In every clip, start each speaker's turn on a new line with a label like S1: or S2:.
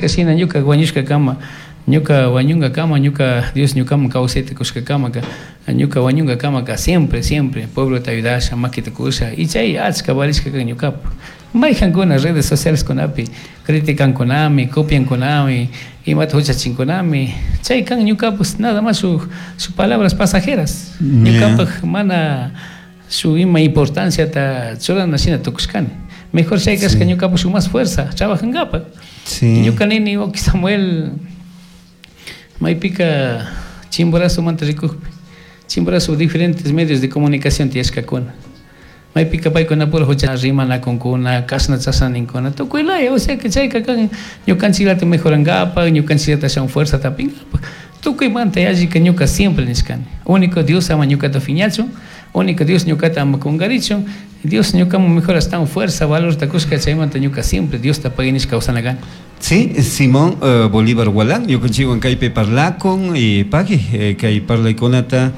S1: shina ñuka wañushkakama, ñuka wañunkakama, ñuka Dios ñukaman kawsayta kushkakamaka, ñuka wañunkakamaka siempre, siempre pueblota ayudasha, makita kusha, y chay achka valishka kan ñukapak. Mayjankuna redes sociales kunapi criticankunami, copiankunami, imata huchachinkunami, chay kan ñukapak nada más shuk palabras pasajeras. Ñukapak mana shuk ima importanciata churana shina tukushkani. Mejor chay kashka ñukapak shuk más fuerza trabajankapak. Ñuka nini, wawki Samuel, maypika Chimborazomanta rikukpi, Chimborazo diferentes medios de comunicación tiyashkakuna. Maypika paykunapura hucha rimanakunkuna, kashna chashna ninkuna, tukuy laya, o sea que chayka kan ñukanchiklata mejorankapak, ñukanchiklata ashawan fuerza tapinkapak. Tukuymanta yallika ñuka siempre nishkani. Único Dios ama ñukata fiñachun, único Dios ñukata ama kunkarichun, Dios ñukaman mejor astawan fuerza, valorta kushka, chaymanta ñuka siempre Diosta pagui nishka kawsana kani.
S2: Sí, Simón Bolívar Gualán, ñukanchikwan kaypi parlakun y pagui kay parlaykunata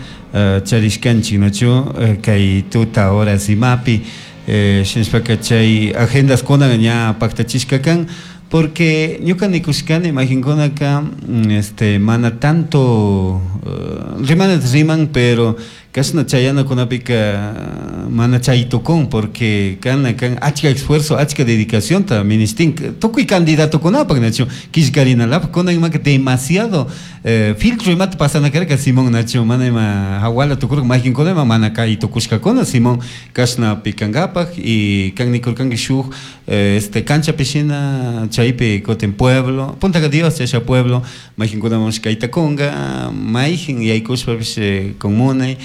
S2: charishkanchik, nachu kay tuta horas imapi shinashpaka chay agendaskuna ña paktachishka kan, porque ñuka nikushkani imaginkunaka mana tanto rimanata riman, pero kashna chayanakunapika mana chay tukun, porque kana kan achka esfuerzo, achka dedicacionta ministin tukuy candidatokunapak, nachu killkarinalapaq. Kunan imaka demasiado filtro imata pasana karka, Simón, nachu mana ima hawala tukurka maykinkuna ima mana kay tukushkakuna, Simón, kashna pikankapak. Y kan nikurkanki shuk canchapi shina chaypi kutin pueblo puntaka Dios chasha pueblo maykinkunaman kayta kunka mayjin yaykushpapish con munay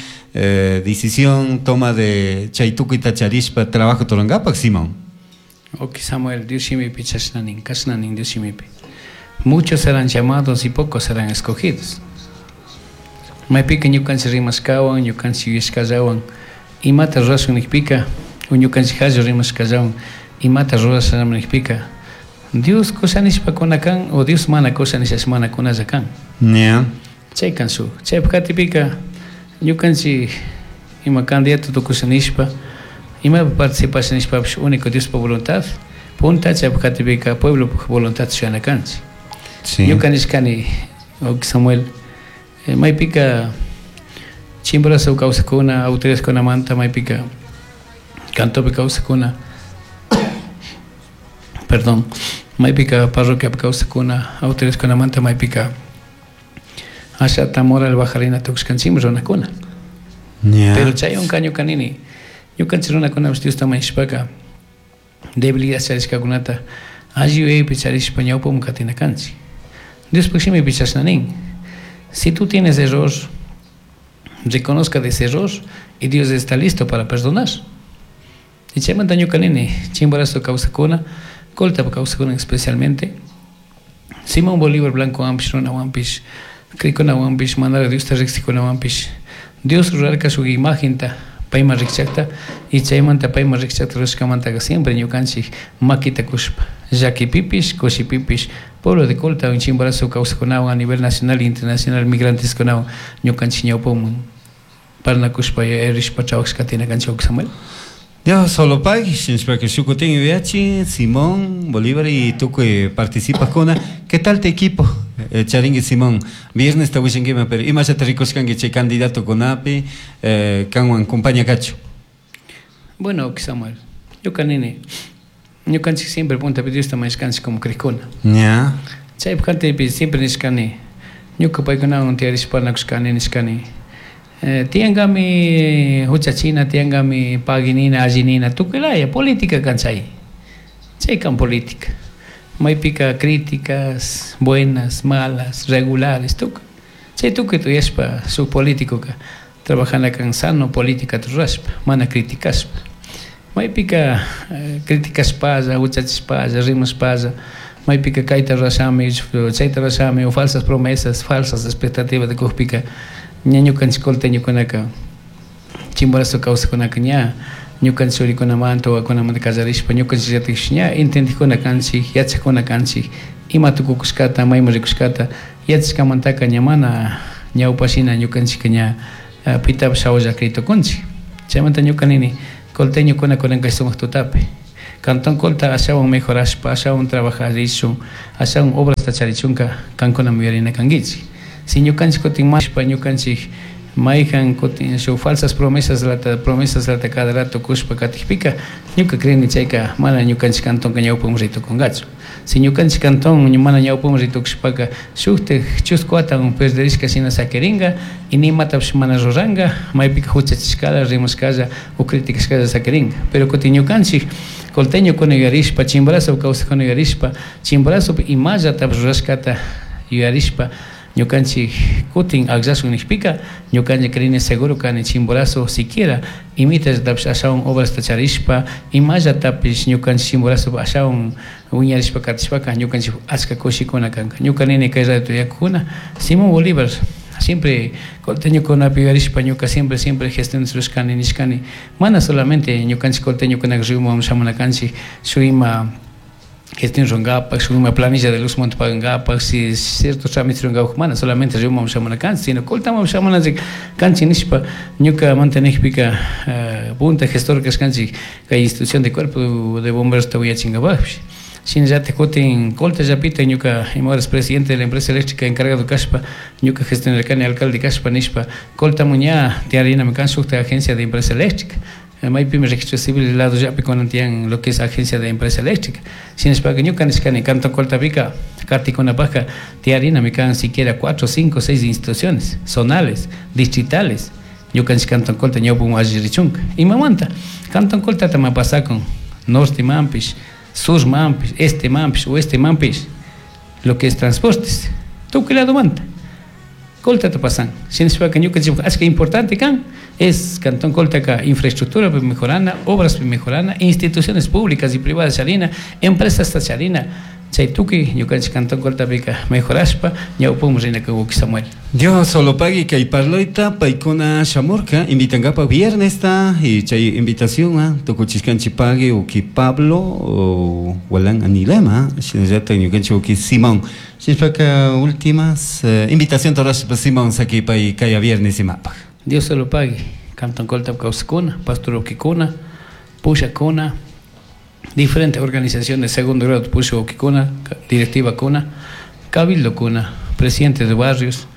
S2: decisión toma de chay tukuyta charishpa trabajo turankapak, Simón.
S1: Ok, Samuel, Dios shimipi chashna nin, kashna nin Dios shimipi. Muchos serán llamados y pocos serán escogidos. Maypika ñukanchik rimashkawan, ñukanchik yuyashkallawan, imata rurashun nikpika, o ñukanchik hallo rimashkallawan, imata rurashaman nikpika, Dios kusha nishpa kuna kan, o Dios mana kusha nishash mana kunalla kan. Chay kan shuk. Chaypak katipika, ñukanchik ima candidato tukusha nishpa, imapi participasha nishpapish único Diospa voluntad, punta chaypak katipika pueblopak voluntad shuyana kanchik. Ñuka nishkani, Samuel, maypika Chimborazo kawsakuna, autoridadkunamanta maypika cantopi kawsakuna, perdón, maypika parroquiapi kawsakuna, autoridadkunamanta maypika ashata moral bajarina tukushkanchikmi runakuna. Pero chaywanka ñuka nini, ñukanchik runakunapish Diosta mañashpaka debilidad charishkakunata alli yuyaypi charishpa ñawpaman katina kanchik. Diospaj shimipi chashna nin. Si tú tienes error, reconozca de ese error y Dios está listo para perdonar. Y chaymanta ñuka nini, Chimborazo kawsakuna, Coltapa kawsakuna especialmente, Simón Bolívar Blanco wampish, runawanpish, crikunawanpish, manara Diosta riksikunawanpish, Dios rurarka shuk imagenta payman rikchakta, y chaymanta payman rikchakta rurashkamantaka siempre ñukanchik makita kushpa, llakipipish, kushipipish, pueblo de Colta, Chimborazo kawsakunawan a nivel nacional e internacional migranteskunawan ñukanchik ñawpaman parlanakushpa rishpa trabajashka tina kanchik, Samuel.
S2: Dios solo pagui, shinashpaka shukutin yuyachin, Simón Bolívar y tukuy participajkuna. ¿Qué tal tu equipo? Charingi Simón, viernes ta wishankima, pero imashata rikushkanki chay candidato kunapi, kanwan compañía kachu?
S1: Bueno, Samuel, ñuka nini, ñukanchik siempre puntapi Diosta mañashkanchik como crikuna. Chaypi kantipi siempre nishkani, ñuka paykunawan tiyarishpa parlanakushkani nishkani. Tiyankami huchachina, tiyankami paguinina, allinina, tukuy laya, política kan chay. Chay kan política. Maypika críticas buenas, malas, regulares, tukuy. Chay tukuy tuyashpa shuk político ka trabajana kan sano política rurashpa, mana criticashpa. Maypika criticashpalla, huchachishpalla, rimashpalla, maypika kayta rurashami, chayta rurashami, o falsas promesas, falsas expectativas de kukpika, ña ñukanchik colteñokunaka, Chimborazo kawsakunaka ña ñukanchik churikunamanta, wawakunamanta kallarishpa ñukanchik llatikpish ña entendikuna kanchik, yachakuna kanchik, ima tukukushkata, mayman rikushkata, yachashkamantaka ña mana ñawpashina ñukanchikka ña pitapish hawalla kri tukunchik. Chaymanta ñuka nini, colteñokuna kunan kay sumak tutapi. Cantón Colta ashawan mejorashpa, ashawan trabajarishun, ashawan obrasta charichunka kankuna yuyarina kankichik. Si ñukanchik kutin mashpa ñukanchik mayhan kutin shuk falsas promesas lata cada rato kushpa katikpika ñuka creeni chayka mana ñukanchik cantonka ñawpaman ritukunkachu. Si ñukanchik cantón mana ñawpaman ritukushpaka shuktik chusku watan perderishka shina sakirinka y nimatapish mana ruranka, maypika huchachishkala, rimashkalla o criticashkalla sakirinka. Pero kutin ñukanchik colteñokuna yuyarishpa, Chimborazo kawsakuna yuyarishpa, Chimborazopi imallatapish rurashkata yuyarishpa ñukanchik kutin akllashun nishpika ñukanchik creeni seguro kani Chimborazo siquiera imitallatapish ashawan obrasta charishpa imallatapish ñukanchik Chimborazo ashawan wiñarishpa katishpaka ñukanchik achka kushikuna kanka. Ñuka nini kay radio yakukuna Simón Bolívar siempre colteñokunapi yuyarishpa ñuka siempre siempre gestiones rurashkani nishkani mana solamente ñukanchik colteñokunaka ríoman shamuna kanchik shuk ima gestión rungapak, shuk ima planilla de luz monte pagangapak, si ciertos trámites rungapak, mana solamente ríoman shamuna kanchik, sino Coltaman shamuna kanchik nishpa ñuka mantenekpika punta gestor kashkanchik kay institución de cuerpo de bomberos ta willachinkapakpish. Shinallatik kutin Colta llapita ñuka ima horas presidente de la empresa eléctrica encargado kashpa ñuka gestionarkani alcalde kashpa nishpa Coltaman ña tiyarinami kan shukta agencia de empresa eléctrica. Maypimi registro civil lado llapi kunan tiyan lo que es agencia de empresa eléctrica. Shinashpaka ñuka nishkani Cantón Coltapika katikunapajka tiyarinami kan siquiera 4, 5, 6 instituciones zonales, distritales. Ñukanchik Cantón Colta ñawpaman alli richunka. Imamanta Cantón Coltata ma pasakun norte manpish, sur manpish, este manpish, oeste manpish, lo que es transportes, tukuy lado manta. Coltata pasan. Shinashpaka ñukanchik achka importante kan es Cantón Colta infraestructura mejorana, obras mejorana, instituciones públicas y privadas charina, empresas charina. Chay tukuy ñukanchik Cantón Coltapika mejorashpa ñawpaman rina kan Samuel.
S2: Dios solo pague kay parloita paykuna shamurka invitankapa viernes ta y chay invitación tukuchishkanchik pague uki Pablo o Walan Anilema shinallata ñukanchik uki Simón. Shinashpaka últimas invitación torashpa Simón sakipay kaya viernes imapaj.
S1: Dios solo pague Cantón Colta kawsakuna, pastor ukikuna, pushakuna, diferentes organizaciones segundo grado pusha ukikuna, directiva kuna, cabildo kuna, presidente de barrios,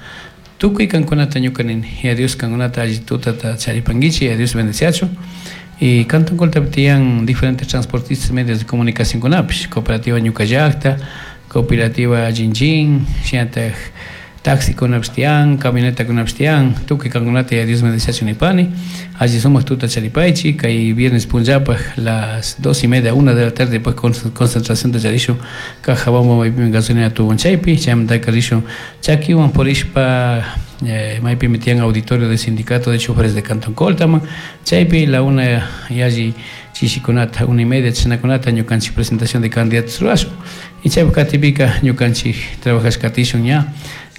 S1: tukuy kankunata ñuka nini, y a Dios kankunata alli tutata charipankichik, y a Dios bendeciachu. Y Cantón Coltapi tiyan diferentes transportistas medios de comunicación kunapish, cooperativa Ñuka Llakta, cooperativa Jinjin, shinatak taxi kunapish tiyan, camioneta kunapish tiyan, tukuy kankunata y a Dios bendeciachu nipani. Alli sumak tuta charipaychik, kay viernes punllapaj las 2:30, 1 de la tarde pues concentración de charishun Cajabamba maypimi gasolina tubon chaypi, chaymantaka rishun chakiwan purishpa maypimi tiyan auditorio del sindicato de choferes de Cantón Coltaman, chaypi la 1 yalli chishikunata, 1:30 chishnakunata ñukanchik presentación de candidatos rurashun. Y chaypi katipika ñukanchik trabajash katishun ña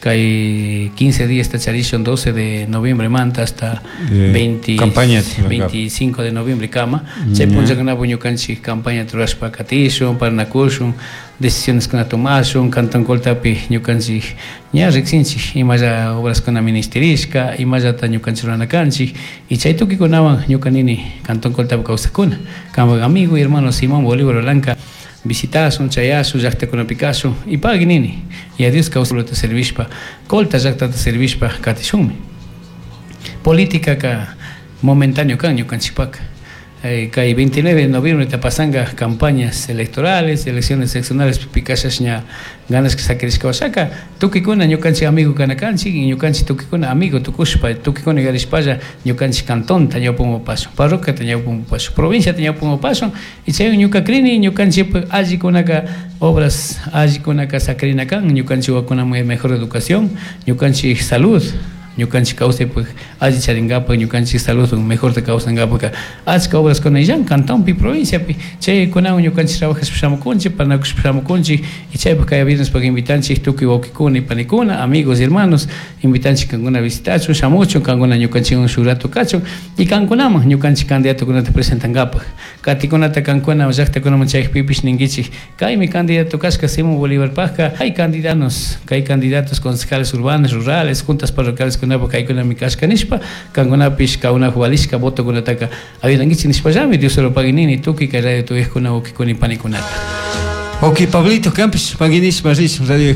S1: kay 15 días tacharishun 12 de noviembre manta hasta 25 de noviembre kama. Chay punllakunapi ñukanchik campaña rurashpa katishun, parnakushun, decisiones kuna tomashun, Cantón Coltapi ñukanchik ña riksinchik imalla obras kuna ministerishka, imallata ñukanchik rurana kanchik y chay tukikunawan ñuka nini Cantón Coltapi kawsakuna. Kanpak amigo y hermano Simón Bolívar Olanca visitasun, chayasun, llaqtakunapi kasun y pagui nini. Y a Dios kawsakuna servishpa, Colta llaqtata servishpa katishunmi. Política ka momentáneo kan ñukanchikpaka. Kay 29 de noviembre te pasanga campañas electorales, elecciones seccionales pikashas ña ganas que saquerishka wasaka tukikuna ñukanchik amigo kanakanchik y ñukanchik tukikuna amigo tukushpa tukikuna yarishpalla ñukanchik cantonta ñawpaman pasun, parroquiata ñawpaman pasun, provinciata ñawpaman pasun y chay ñuka krini ñukanchik allikunaka obras allikunaka sakrina kan ñukanchik wakunaman mejor educación, ñukanchik salud, ñukanchik kawsaypaq alli charinkapak, ñukanchik salud mejor te kawsankapak achka obras kuna illan cantonpi provinciapi chaykunawan ñukanchik trabajashpa shamukunchik, parnakushpa shamukunchik y chaypaq kay viernes invitanchik tukuy wawqikuna y panikuna, amigos y hermanos, invitanchik kankuna visitachun, shamuchun, kankuna ñukanchikwan shuk rato kachun y kankunaman ñukanchik candidatokunata presentankapak. Katikunata kankuna llaqtakunaman chaypipish ninkichik kaymi candidato kashka Simón Bolívar pajka, hay candidatos, hay candidatos concejales urbanos, rurales, juntas parroquiales Ñukanchikkunapuk kaykunami kashka nishpa, kankunapish kankunapuk valishka votokunataka ayudankichik nishpallami Dios solo pagui nini tukuy kay radio tuyajkuna wawkikuna panikunata.
S2: Ok, Pablito, kanpish pagui nishpa rish radio.